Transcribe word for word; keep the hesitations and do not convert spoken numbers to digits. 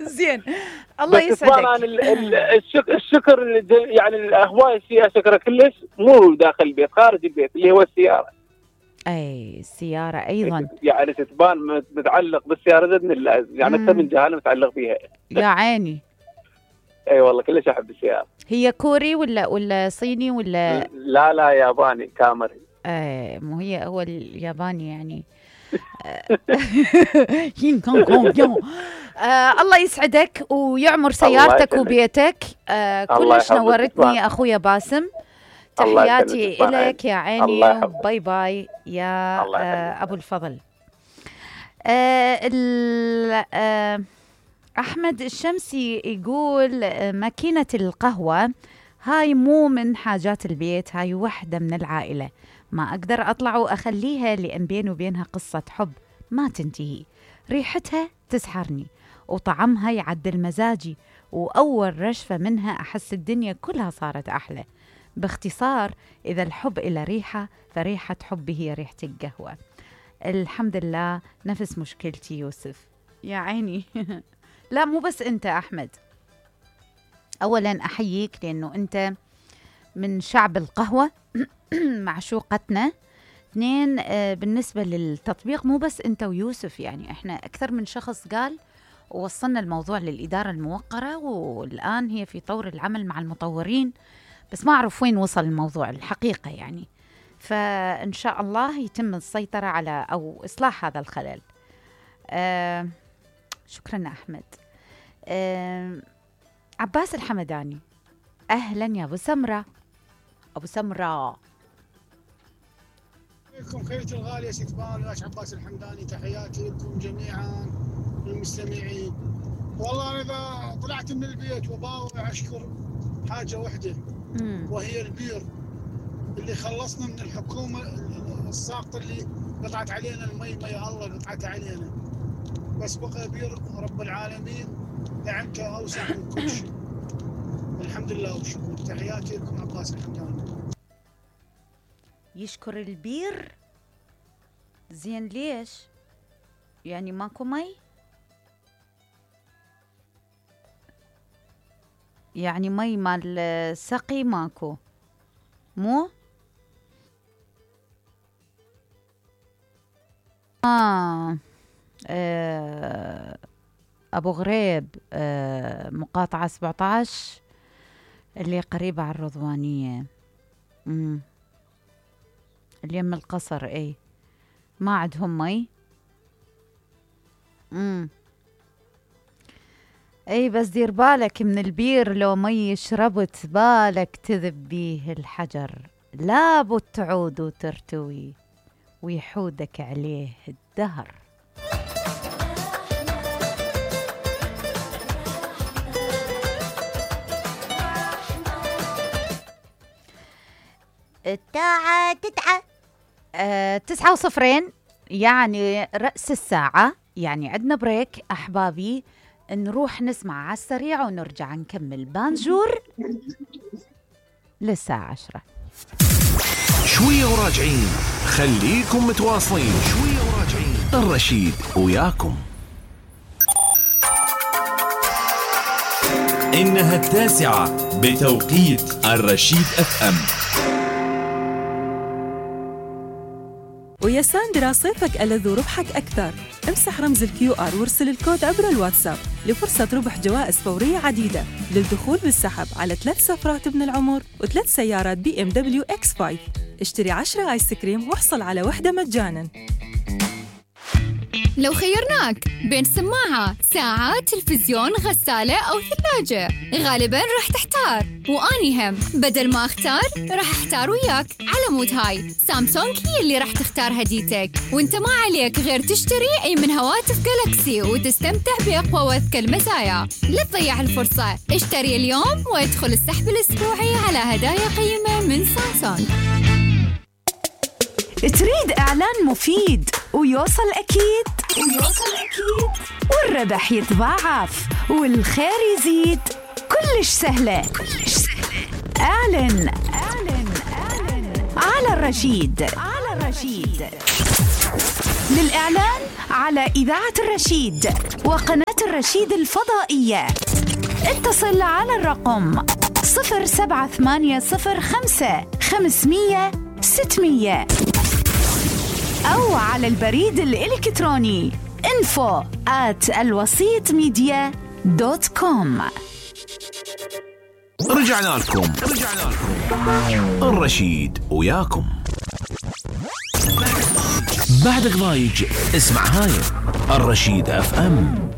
زين الله يسعدك. طبعا الشكر الشكر يعني هواي فيها شكر كلش مو داخل البيت، خارج البيت اللي هو السياره. اي السياره ايضا يعني تتبان متعلق بالسياره زد من يعني اكثر من جهه متعلق فيها. يا عيني. اي أيوة والله كلش احب السياره. هي كوري ولا ولا صيني ولا؟ لا لا ياباني كامري. ايه مو هي هو الياباني يعني. هين كون كون يو. آه الله يسعدك ويعمر سيارتك وبيتك. آه كلش نورتني اخويا باسم. تحياتي إليك يا عيني. باي باي يا آه ابو الفضل. آه آه احمد الشمسي يقول آه ماكينة القهوة هاي مو من حاجات البيت، هاي وحدة من العائلة، ما أقدر أطلع وأخليها لأن بيني وبينها قصة حب ما تنتهي، ريحتها تسحرني وطعمها يعدل مزاجي، وأول رشفة منها أحس الدنيا كلها صارت أحلى. باختصار إذا الحب إلى ريحة فريحة حبي هي ريحة القهوة. الحمد لله نفس مشكلتي يوسف يا عيني. لا مو بس أنت أحمد، أولا أحييك لأنه أنت من شعب القهوة معشوقتنا. اثنين آه بالنسبة للتطبيق مو بس أنت ويوسف، يعني إحنا أكثر من شخص قال ووصلنا الموضوع للإدارة الموقرة، والآن هي في طور العمل مع المطورين، بس ما أعرف وين وصل الموضوع الحقيقة يعني. فإن شاء الله يتم السيطرة على أو إصلاح هذا الخلل. آه شكرا أحمد. آه عباس الحمداني أهلا يا أبو سمرة. أبو سمرة عليكم خيرتي الغالية ست بالاش عباس الحمداني، تحياتي لكم جميعا المستمعين. والله أنا إذا طلعت من البيت وباوع أشكر حاجة وحدة مم. وهي البير اللي خلصنا من الحكومة الساقطة اللي قطعت علينا المي، ما يا الله قطعت علينا، بس بقى بير رب العالمين دعمته أوسع من كل شيء. الحمد لله والشكر. تحياتي لكم عباس الحمداني. يشكر البير. زين ليش يعني ماكو مي؟ يعني مي مال السقي ماكو مو؟ آه. آه. أبو غريب آه. مقاطعة سبعة عشر اللي قريبة على الرضوانية. مم. اليم القصر اي ما عندهم مي. امم اي بس دير بالك من البير، لو مي شربت بالك تذب بيه الحجر، لابد تعود وترتوي ويحودك عليه الدهر. الساعة تسعة أه تسعة وصفرين يعني رأس الساعة، يعني عندنا بريك أحبابي، نروح نسمع على السريع ونرجع نكمل بانجور للساعة عشرة. شوية وراجعين، خليكم متواصلين. شوية وراجعين، الرشيد وياكم. إنها التاسعة بتوقيت الرشيد اف ام. ويا ساندرا صيفك ألذ وربحك أكثر. امسح رمز الكيو آر وارسل الكود عبر الواتساب لفرصة ربح جوائز فورية عديدة للدخول بالسحب على ثلاث سفرات ابن العمر وثلاث سيارات بي ام دبليو اكس خمسة. اشتري عشرة آيس كريم واحصل على وحدة مجانا. لو خيرناك بين سماعة، ساعة، تلفزيون، غسالة أو ثلاجة، غالباً راح تحتار، وأني هم بدل ما أختار راح أحتار وياك. على مود هاي سامسونج هي اللي راح تختار هديتك، وانت ما عليك غير تشتري أي من هواتف جالاكسي وتستمتع بأقوى وأذكى المزايا. لا تضيع الفرصة، اشتري اليوم وادخل السحب الأسبوعي على هدايا قيمة من سامسونج. تريد إعلان مفيد ويوصل أكيد ويوصل أكيد والربح يتضاعف والخير يزيد؟ كلش سهلة كلش سهلة. أعلن أعلن أعلن على الرشيد على الرشيد. للإعلان على إذاعة الرشيد وقناة الرشيد الفضائية اتصل على الرقم صفر سبعة ثمانية صفر خمسة خمسمية ستمية أو على البريد الإلكتروني info at الوسيط ميديا دوت كوم. رجعنا لكم رجعنا لكم الرشيد وياكم. بعدك ضايج اسمع هاي الرشيد اف ام.